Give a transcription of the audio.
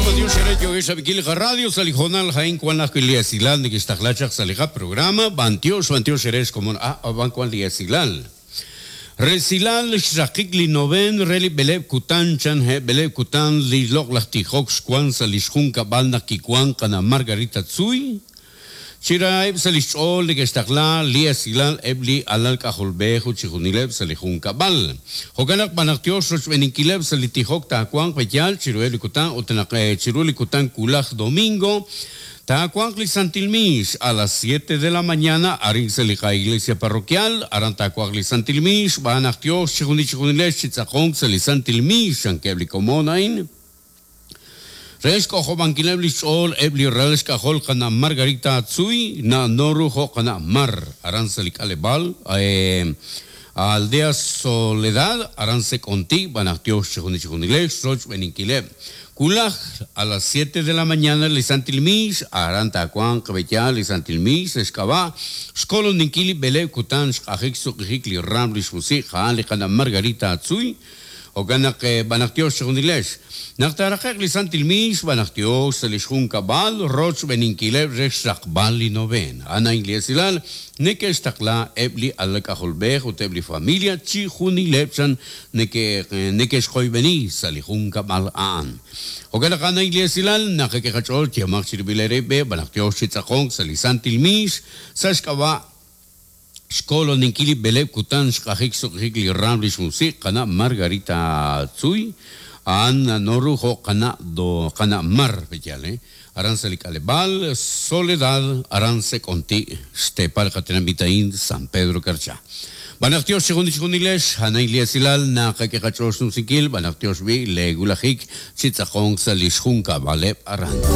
B'antiox eere yookex rab'inkil li qaradio sa' li hoonal a'in wan ajwi' li esilal nekextaqla chaq sa' li qaprograma. B'antiox, b'antiox eere xkomon a' ab'an wan li esilal. Resilal xraqik li noveen re li b'eleeb' kutan chan he' b'eleeb' kutan li loq'laj tijok xwan sa' li xjunkab'al naq kiwan qana' Margarita Tzuy. Chi raheb' sa' li xch'ool neke'xtaqla li esilal eb' li alal k'ajolb'ej ut chixjunileb' sa' li junkab'al. Jo'kan naq b'an naq tyox rochb'eeninkileb' sa' li tijok taawanq pe'yaal chiruheb' li kutan ut naq chiru li kutan wulaj domingo taawanq li santil miix a las siete de la mañana arin sa' li qa-iglesia parroquial aran taawanq li santil miix xb'aan naq tyox chixjunil chixjunilex chi tz'aqonk sa' li santil miix chankeb' li komon a'in. Re xk'ojob'ankileb' li xch'ool eb' li ralal xk'ajol qana' Margarita Tzuy, na'no ru jo' qana' Mar, aran sa' li k'aleb'aal Aldea Soledad, aran Sek'onti, b'an aj tiox chijunil chijunilex rochb'eeninkileb'. Wulaj, a las siete de la mañana li Santil Miix, aran taawanq b'eyaal li Santil Miix sa' xk'ab'a' xkoloninkil li b'eleeb' kutan xq'ajik xsuq'ijik li raam li xmusiq' a'an li qana' Margarita Tzuy, Jo'kan naq, b'an naq tiox chixjunilex. Naq taaraqe'q li santil miix, b'an naq tiox sa' lix junkab'al rochb'eeninkileb' re xraqb'al li novena. A'an a'in li esilal neke'xtaqla eb' li alal k'ajolb'ej ut eb' li familia chixjunileb' chan neke'xqoyb'eni sa' li junkab'al a'an. Jo'kan naq a'an a'in li esilal naqak'e qach'ool yehomaq chirib'il eerib' b'an naq tiox chi tz'aqonk sa' li santil miix sa' xk'ab'a' Xkoloninkil li b'eleeb' kutan xq'ajik xsuq'ijik li raam li xmusiq' qana' Margarita Tzuy, a'an na'no ru jo' qana' do qana' Mar, pe'yaal he? Aran sa' li k'aleb'aal Soledad, aran Sek'onti', xteepal qatenamit a'in San Pedro Carchá. B'an naq tiox chijunil chijunilex, a'an a'in li esilal naqak'e qach'ool xnumsinkil, b'an naq tiox b'i' lee wulajik chi tz'aqonk sa' li xjunkab'aleb' aran.